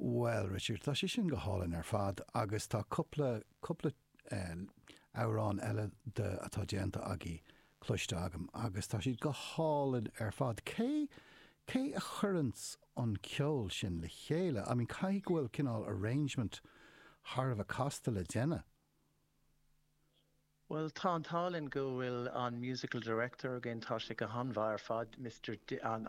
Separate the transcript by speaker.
Speaker 1: Bhuel, Richard, tá sé sin go hálainn ar fad agus tá cúpla, cúpla amhrán eile de atá déanta agaibh cloiste agam agus tá siad go hálainn ar fad. Cé, cé a chuireanns an ceol sin le chéile? I mean, caithfidh go bhfuil cineál arrangement thar a bheith casta le déanamh.
Speaker 2: Bhuel, tá an t-ádh linn go bhfuil an musical director againn, tá sé go han-mhaith ar fad, Mister, an.